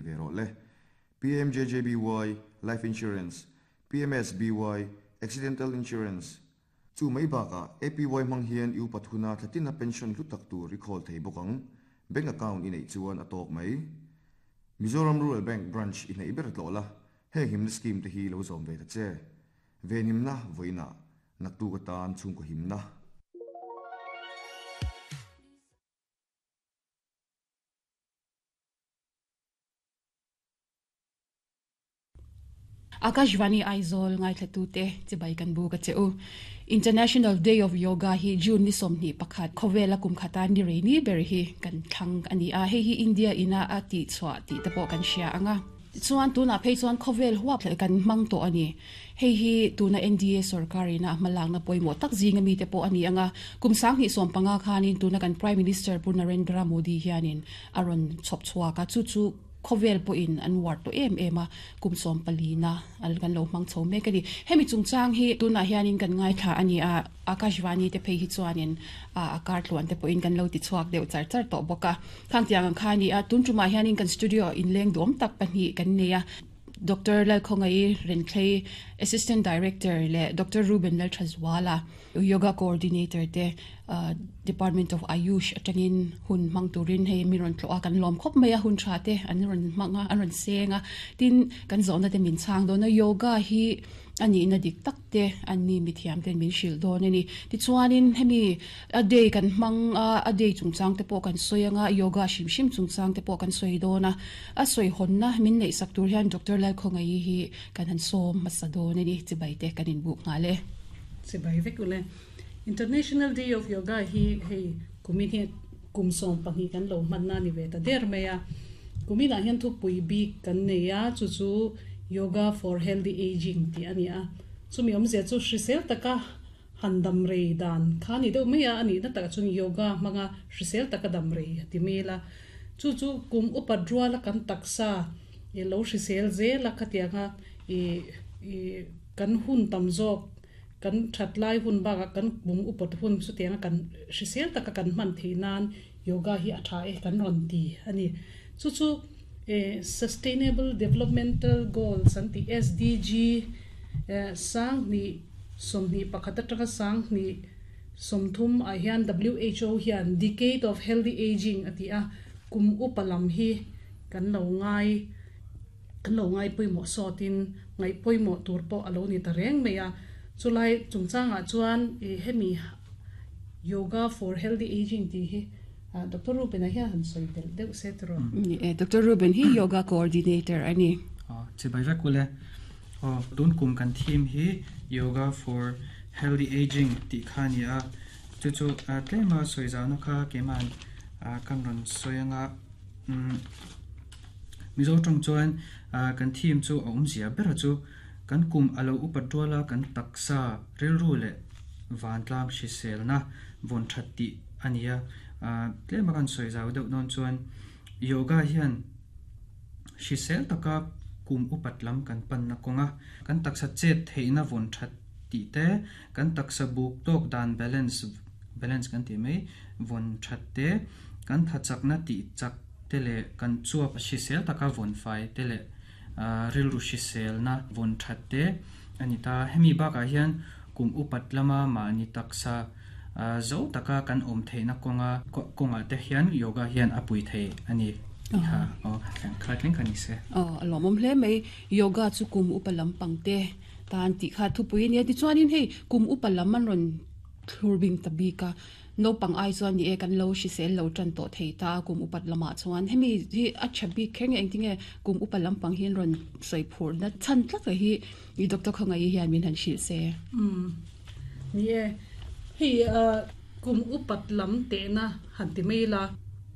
ve rawh le. PMJJBY, Life Insurance, PMSBY, Accidental Insurance, Chu mai bakah APY hmang hian i upat huna thlatina pension hlu tak tur i khawl thei bawk ang. Bank account i neih chuan a tawk mai. Mizoram Rural Bank branch i hneih ber tlawh la, heng himna scheme te hi lo zawm ve ta che. Venhimna vawiinah naktuk atan chhungkaw himna. Akashvani Aizawl ngaithlatute chibai kan buk a che u. International Day of Yoga hi June ni 21 khawvela kum khata ni rei ni ber hi kan thlang a ni a, hei hi India ina a tihchhuah tih te pawh kan hria ang a. Chuan tunah phei chuan khawvel huap kan hmang tawh a ni. Hei hi tuna NDA sorkar ina a hmalakna pawimawh tak zinga mite pawh a ni ang a, kum 2015 khanin tuna kan Prime Minister Pu Narendra Modi hianin a rawn chhawp chhuak a, chu chu khawvel pawhin an uar tawh em em a, kum 14 na kan lo hmang chho mek a ni. Hemi chungchang hi tunah hianin kan ngaithla a ni a, Akashvani te phei hi chuanin a kar tluan te pawhin kan lo ti chhuak deuh char char tawh bawk a. Khang tiang ang kha a ni a, tun tumah hianin kan studio inleng duam tak pahnih kan nei a, Doctor Lalkhawngaih Renthlei, Assistant Director leh Doctor Ruben Lalthazuala, Yoga Coordinator te Department of Ayush atangin hun hmang turin hei mi rawn tlawh a, kan lawm khawp mai a, hun tha te an rawn hmang a, an rawn seng a, tin kan zawhna te min chhang dawn a, yoga hi a nihna dik tak te an ni mithiam ten min hrilh dawn a ni. Tichuanin hemi a day kan hmang a, a day chungchang te pawh kan sawi anga, yoga hrim hrim chungchang te pawh kan sawi dawn a, a sawi hawnna min neih sak tur hian Doctor Lalkhawngaih hi kan han sawm hmasa dawn a ni, chibai te kan inbuk nghal e. Chibai vek ule. International Day of Yoga hi hei kumin hi kum 12 kan lo hmanna a ni ve ta der mai a. Kuminah hian thupui bik kan nei a, chu chu Yoga for Healthy Ageing tih a ni a. Chumi awmzia chu hrisel taka han dam rei dan kha a ni deuh mai a, a nihna takah chuan yoga hmanga hrisel taka dam rei a ti mel a. Chu chu kum upat ruala kan taksa i lo hrisel zel a khatianga i i kan hun tam zawk kan that lai hun bakah kan kum upat hun chutianga kan hrisel taka kan hman theih nan yoga hi a tha e kan rawn ti a ni. Chu chu Sustainable Developmental Goals an tih SDG 2021 atanga 2030 ah hian WHO hian Decade of Healthy Ageing a ti a, kum upa lam hi kan lo ngai. Kan lo ngai pawimawh sawtin ngaih pawimawh tur pawh a lo ni ta reng mai a. Chulai chungchangah chuan ih hemi Yoga for Healthy Ageing tih hi Doctor Ruben-a hian han sawi belh deuh se tiraw? Ni e, Doctor Ruben hi Yoga Coordinator a ni. Aw, chibai vek ule. Aw, tun kum kan theme hi Yoga for Healthy Ageing tih kha a ni a. Chu chu tlema sawi zauhna kha keima'n kan rawn sawi anga umm. Mizo tawng chuan kan theme chu a awmzia ber chu kan kum a lo upat rual a, kan taksa rilru leh vantlang hriselna vawn that tih a ni a. Tlem a kan sawi zau deuh dawn chuan yoga hian hrisel taka kum upat lam kan panna kawnga kan taksa chet theihna vawn that tih te, kan taksa buk tawk dan balance balance kan tih mai vawn that te, kan thachakna tih chak te leh kan chuap hrisel taka vawn fai te leh rilru hriselna vawn that te a ni ta. Hemi bakah hian kum upat lama mahni taksa zo taka kan awm theihna kawnga kawngah te hian yoga hian a pui thei a ni tih kha aw kha thleng kha ni se. Aw a lawmawm hle mai. Yoga chu kum upa lampang te tan tih kha thupui a nia. Tichuanin hei kum upa lam an rawn thlur bing ta bik a. Naupang ai chuan ni e kan lo hrisel lo tan tawh thei ta a kum upat lamah chuan hemi hi a tha bik kher nge engtinge kum upa lampang hi an rawn sawi phurna chhan tlat hi i doctor Khawngaih hian min han hrilh se. Umm ni e hei kum upat lam tehna han ti mai ila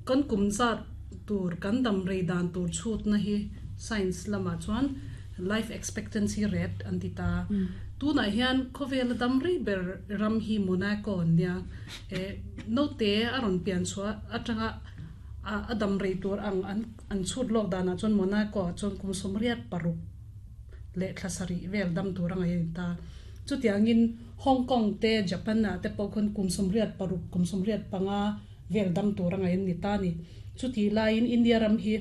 kan kum zat tur kan dam rei dan tur chhutna hi science lamah chuan life expectancy rate an ti ta. Tunah hian khawvela dam rei ber ram hi Monaco an nia. Eh naute a rawn pian chhuah atanga a dam rei tur ang an chhut lawk danah chuan Monaco ah chuan kum 86 leh thla sarih vel dam tur a ngaih a ni ta. Chutiangin Hong Kong te Japan ah te pawh khawn kum 86 kum 85 vel dam tur a ngaih an ni ta a ni. Chutih laiin India ram hi.